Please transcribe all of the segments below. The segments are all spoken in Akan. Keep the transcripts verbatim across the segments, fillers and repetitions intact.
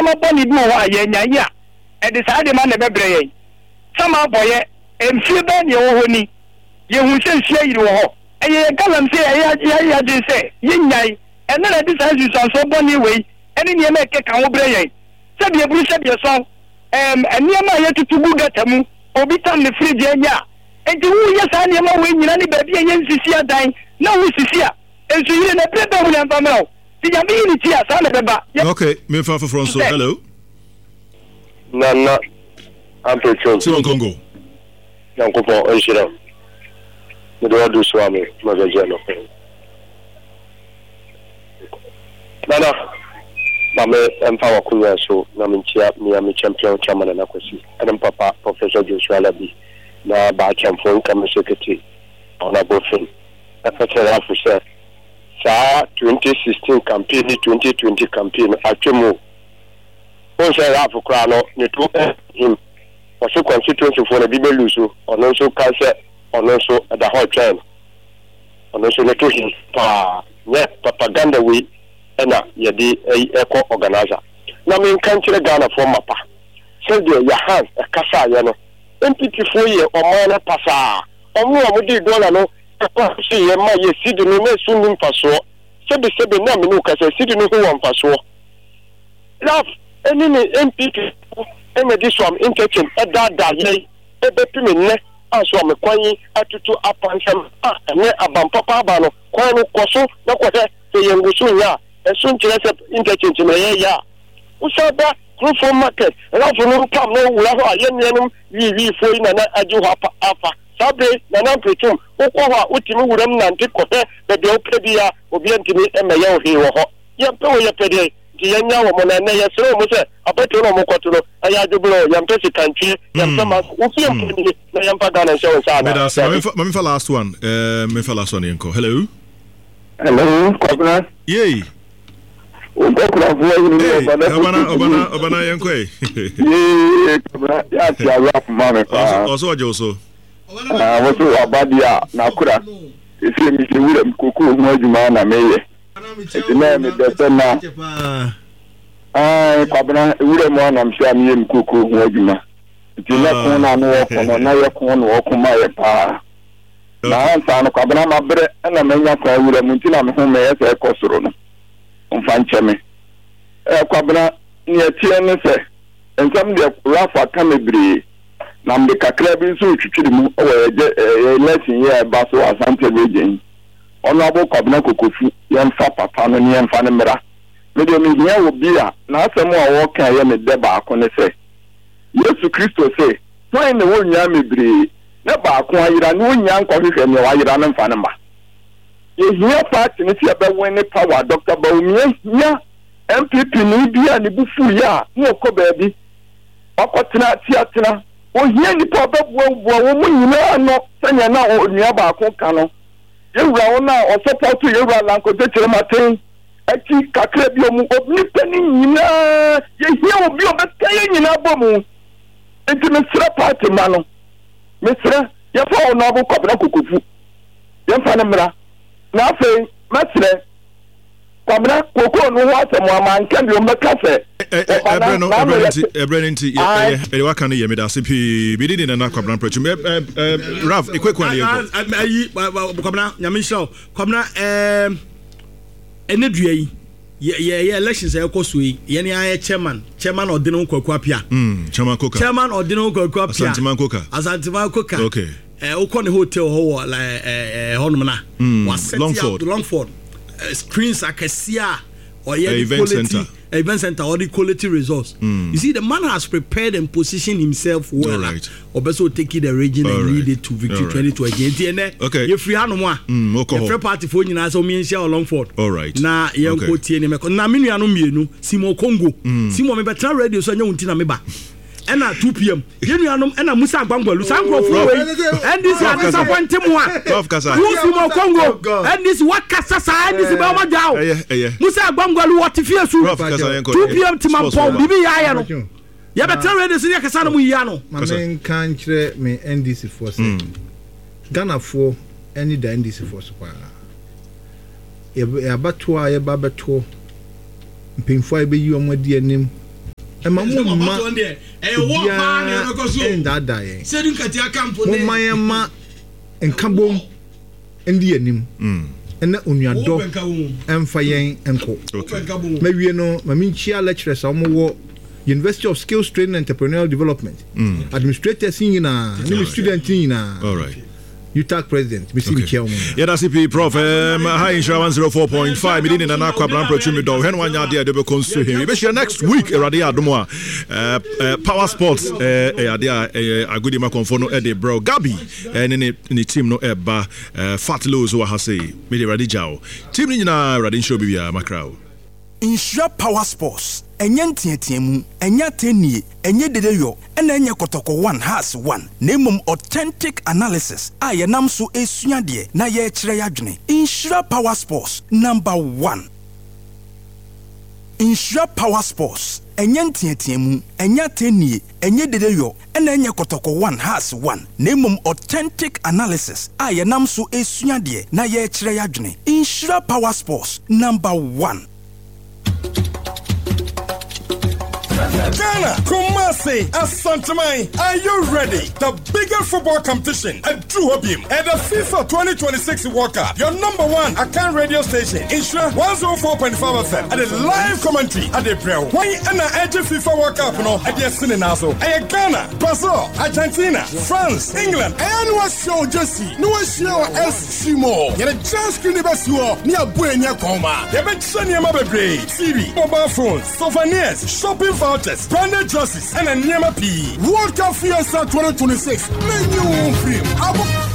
Nneɛma bɔne bi wɔ hɔ a yɛanyae a, ɛde saa nneɛma no na ɛbɛbrɛ yɛn. Sama abɔeɛ, mfeɛ bɛn na yɛwɔ hɔ ni? Yɛhuu sɛ nsuo ayiri wɔ hɔ. Ɛyɛ yɛn galamsey a yɛayɛ yɛn adwene sɛ yɛnnyae. Ɛno na ɛde saa nsunsuansoɔ bɔne wei ne nneɛma a ɛkeka ho brɛ yɛn. Sɛdeɛ aburu sɛdeɛ sɔn, ɛɛm, nneɛma a yɛtutu gu gata mu, obi tam ne fridge anya a, enti woreyɛ saa nneɛma wei nyinaa ne baabi a yɛnsisi adan na wosisi a, nsuyire no ɛberɛ bɛn mu na ɛmfa mmra wo? Sɛ Nyame yi ne ti a, saa na ɛbɛba. Yɛ. Ok, memfa foforɔ nso. Sɛ. Hello. Nana Ampratwum. Simon Congo. Nyankopɔn ɔnhyira wo. Mede w'ado soa me magagye anɔpa yi. Nana, ma me mfa w'akonwa so na menkyia mea me champion chairman Nana Kwasi ɛne me papa Professor Joshua Alabi na Baakyɛmfo nka me sekete Honourable Finn ɛka kyerɛ Ralph sɛ saa twenty sixteen campaign ne twenty twenty campaign no atwam o. Wohu sɛ Ralph koraa no ne to him. Ɔse constituency foɔ no bi bɛ lose ɔno nso kae sɛ ɔno nso ɛda hɔ retwɛn no. Ɔno nso ne to him paa. Nyɛ propaganda wei na yɛde kɔ organiser. Na menka nkyerɛ Ghanafoɔ mapa sɛdeɛ Yahans kasaeɛ no, N P P foɔ yɛ ɔman no pasaa. Wɔn a wɔde dollar no kɔhyeeɛ ma yɛ cedi no na ɛso nni mfasoɔ. Sɛbe sɛbe na me ne wo kasa cedi no ho wɔ mfasoɔ. Ralph ne ne N P P foɔ na ɛde Suam interchange daadaa yɛn bɛpem nnɛ a Suam kwan yi atutu apansam a ɛnnɛ aban papa aba no kwan no kɔ so na kɔhwɛ sɛ yɛn gu so nyɛ a ɛso nkyerɛ sɛ interchange na yɛyɛ a wosan ba Kurofo market Ralph no mpam na wowura hɔ a yɛn nuanom wiiwiifoɔ yi na na agye hɔ apa afa saa bere yi Nana Mpretum wokɔ hɔ a wotumi wuram nante kɔhwɛ baabi a wopɛ biara obiara ntumi mmɛyɛ wo hwee wɔ hɔ yɛmpɛ wei yɛpɛ deɛn nti yɛnnya wɔn na ɛnnɛ yɛsrɛ wɔn sɛ abatoɔ no a wɔkɔto no ɛyɛ adwoberɛ o yɛmpɛ sikantwie yɛmpɛ ma wo fie mpo nie na yɛmfa Ghana nhyɛ wo nsa anaa Meda ase. Ma daabi. memfa ma memfa last one. Eh, memfa last one yɛnkɔ. Hello. Hello, Kwabena. Yei. Wo nkɔkorafoɔ hene ne Hey, ɔbana ɔbana foto ɔbana tumi. ɔbana yɛnkɔ ɛ. Yee, Kwabena, yɛ ate awerɛ ma me Ɔso paa. ɔso ɔgye wo so. Ah, wo so waba deɛ a, n'akora. Ɛsɛ mehyɛ wuram kokoo ho adwuma na meyɛ. Nti na mebɛ sɛ na ah, Kwabena, wuram a nam hyɛ a meyɛ me kokoo ho adwuma. Nti na ko na ano wɔko no, na yɛ ko na wɔko ma yɛ paa. Na ansa no Kwabena mabrɛ na manya kwan wura mu nti na me ho meyɛ sɛ ɛkɔ soro no. Ɔmfa nkyɛ me. Ɛ Kwabena, nea ɛteɛ ne sɛ, nsɛm deɛ Ralph aka bebree, na mede kakra bi nso retwitwiri mu wɔ yɛ yɛ election yi a ɛba so wɔ Asante Region yi. Honourable Kwabena Kokofu, yɛmfa papa no ne yɛmfa no mmra. Me deɛ mehia obi a n'asɛm a ɔreka ɛyɛ me dɛ baako ne sɛ, Yesu Kristo se, hwan na ɛwɔ nnwan bebree na baako ayera na onnya nkɔhwehwɛ nea wayera no mfa no mma? Yɛhia party no sɛ yɛbɛwin ne power. Doctor Bawumia hia N P P ni bi a ne bo fuiɛ a na ɔkɔ baabi wakɔtena atiatena. Ohia nnipa a ɔbɛboaboa wɔn mu nyinaa ano sɛnea na onua baako ka no. Yɛwura wɔn a ɔsɔpɔto yɛwura Lankote Kyerematen akyi kakra bi ɔmu nnipa no nyinaa yɛhia obi a ɔbɛka yɛn nyinaa bɔ mu. Nti mesrɛ party ma no, mesrɛ yɛfa Honourable Kwabena Kokofu yɛmfa no mmra. Na afei mɛsrɛ Kwabena kokoo no ho asɛm a manka bi ɔmbɛka sɛ ɛbrɛ no ɛbrɛ no nti ɛbrɛ no nti ɛyɛ ɛde waka no yɛ meda ase pii bi di Nana Kwabena Mpratwum. Ralph ekwekwa ne yɛnkɔ. Ayi Kwabena, Nyame nhyira wo Kwabena. ɛɛm ɛne dua yi yɛ yɛ elections a ɛkɔ so yi, yɛn ayɛ chairman chairman ɔde ne ho Kwaku Apia. Mm, chairman Koka. Chairman ɔde ne ho Kwaku Apia. Asanteman Koka. Asanteman Koka. Okay. Ɛ wokɔ ne hotel hɔ wɔ ɛ ɛ hɔnom na mm, wasɛte Longford. Longford screens akɛseɛ a ɔyɛ event quality center. Event center ɔde quality results. Mm. You see, the man has prepared and positioned himself well. Right. Ɔbɛ sɛ take the region and All lead right. it to victory All right. twenty twenty. Nti ɛnɛ Okay. yɛfiri hanom a Mm, wokɔ hɔ. yɛfrɛ party foɔ nyinaa sɛ ɔmo yɛnhyia wɔ Longford. All right. Na yɛnkɔ Okay. tie ne mɛkɔ na me nuanom mmienu Simon Congo. Mm. Simon, mebɛtena radio so ɛnyɛ wo nti na meba ɛna two p m yɛn nuanom ɛna Musa Agbangbalu saa nkurɔfoɔ wei N D C adesafo nte mu a Prof kasa. Wo Simon Congo, N D C wakasa saa N D C bɛɛ ɔma dwa o. Ɛyɛ ɛyɛ. Musa Agbangbalu wɔte fie su. Prof kasa yɛnkɔ. two p m. Sports Timampɔn baba. biribi yɛ ayɛ no yɛbɛtena radio so ne yɛkasa no mu yia no. Ma Kasa. menka nkyerɛ me N D C foɔ sɛ Ghanafoɔ ani da N D C foɔ so paa. Yɛbɛtoɔ a yɛba bɛtoɔ mpanyinfoɔ a yɛbɛyi wɔn adi anim. Ɛma mo mma obiara ɛndaadaa yɛn. Momma yɛn ma nkabom ndi anim ɛna onuadɔ ɛmfa yɛn nkɔ. Mawie no, ma menkyia lecturers a wɔwɔ University of Skills Training and Entrepreneurial Development, mm. administrators nyinaa ne me student nyinaa. All right. U T A C president, mesi okay. Mekyia wɔn. Yɛda se pii, Prof. um, ha Nhyira one oh four point five, mede ne Nana Kwabena Mpratwu medɔ hwɛ no wanyɛ adeɛ a ɛde bɛkɔ nso hɛ. Yɛbɛhyia next week, Awurade yɛ adom a. uh, uh, power Sports ɛyɛ adeɛ a ɛyɛ agodi makɔmfo no ɛde brɛ Gabi ɛne ne ne team no ɛba. uh, fat Lows wɔ ha sei. Mede Awurade gya wo team no nyinaa. Awurade nhyira obi biara makra wo. Nhyira Power Sports, ɛnyɛ nteateamu, ɛnyɛ atɛnnie, ɛnyɛ dedeyɔ, ɛna ɛnyɛ Kɔtɔkɔ one Hearts one, na mmom authentic analysis a yɛnam so esua deɛ na yɛrekyerɛ yɛadwene. Nhyira Power Sports, number one. Nhyira Power Sports, ɛnyɛ nteateamu, ɛnyɛ atɛnnie, ɛnyɛ dedeyɔ, ɛna ɛnyɛ Kɔtɔkɔ one Hearts one, na mmom authentic analysis a yɛnam so esua deɛ na yɛrekyerɛ yɛadwene. Nhyira Power Sports, number one. Ghana, Kumasi, Asanteman, are you ready? The biggest football competition at Drew Hobim at the FIFA twenty twenty-six World Cup. Your number one Akan radio station, Nhyira one oh four point five F M, at the live commentary at the Brel. Why and the FIFA World Cup no at the Cinenazo? Ghana, Brazil, Argentina, France, England, and what show Jesse? No show S C Mo. Yɛde giant screen bɛsi hɔ ne abɔ ani akɔnma. Yɛbɛkyerɛ nneɛma bebree: T V, mobile phones, souvenirs, shopping vouchers, branded jerseys, ɛna nneɛma pii. World Cup Fiesta twenty twenty-six, menyi wo mfiri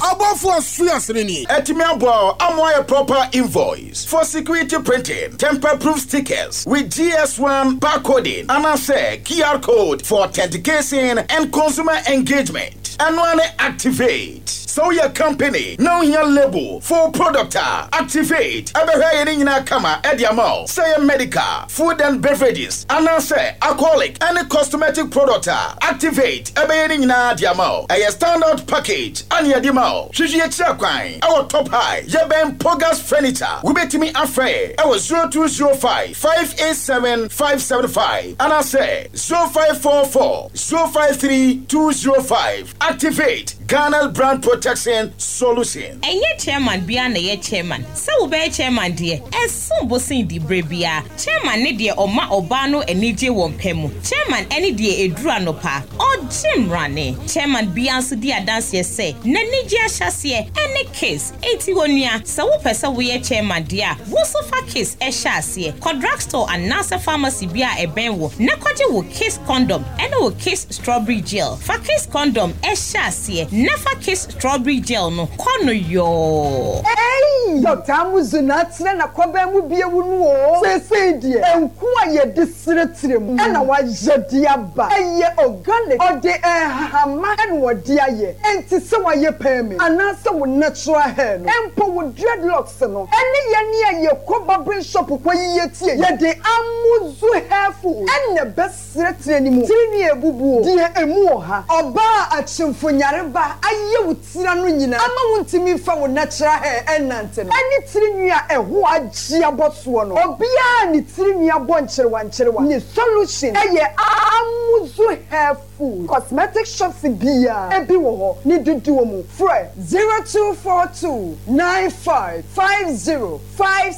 abɔfoɔ aso asene ni. Ɛtumi aboa ama ayɛ proper invoice for security printing, tamper proof stickers with G S one barcoding anaasɛ Q R code for authentication and consumer engagement. Ɛno ne Activate. Sɛ woyɛ company na wohia label for product a, Activate ɛbɛhwɛ yɛ ne nyinaa kama ɛde ama wo. Sɛ yɛ medical, food and beverages anaasɛ alcoholic ɛne cosmetic product a, Activate ɛbɛyɛ ne nyinaa de ama wo. Ɛyɛ standard package ane yɛde ma wo. Hwehwɛ yɛkyerɛ kwan ɛwɔ Top High, yɛbɛn Pogas Furniture. Wobɛtumi afrɛ ɛwɔ zero two zero five five eight seven five seven five anaasɛ zero five four four zero five three two zero five. Activate, Ghana brand protection solution. Ɛnyɛ chairman bia na ɛyɛ chairman. Sɛ wobɛyɛ chairman deɛ, ɛsom bo sen di berɛ biara. Chairman ne deɛ ɔma ɔbaa no anigye wɔ mpɛ mu. Chairman ɛne deɛ ɛduru anɔpa ɔgye mmrane. Chairman bia nso di adanseɛ sɛ n'anigye ahyɛseɛ ɛne Kiss. Enti wɔ nua, sɛ wopɛ sɛ woyɛ chairman deɛ a, wo nso fa Kiss ɛhyɛ aseɛ. Kɔ drugstore anaasɛ pharmacy bi a ɛbɛn wo na kɔgye wo Kiss condom ɛne wo Kiss strawberry gel. Fa Kiss condom ɛhyɛ aseɛ na fa Kiss strawberry gel no kɔ no yɔɔ. Ei, Doctor Amuzu na atena na kɔbɛn mu bie wu no o. Seesei deɛ, nku a yɛde seretire mu ɛna wayɛ de aba. Ɛyɛ organic, ɔde nhahama ɛna wɔde ayɛ. Enti sɛ wayɛ perm anaasɛ wo natural hair no, mpo wo dreadlocks no, ɛne yɛne a yɛkɔ barbering shop kɔ yiyɛ tie. Yɛde Amuzu hair food ɛna bɛseretire ne mu. Tiri ebubuo, deɛ emu wɔ ha. Ɔbaa akyemfo nyareba ayɛ wo tira no nyinaa ama wo ntumi nfa wo natural hair ɛnante no. Ɛne tiri nwi a ɛho agye abɔ soɔ no. Obiara ne tiri nwi abɔ nkyerewa nkyerewa. Ne solution ɛyɛ Amuzu hair food. Cosmetic shops biara ebi wɔ hɔ ne dodoɔ mu. Frɛ zero two four two nine five five zero five.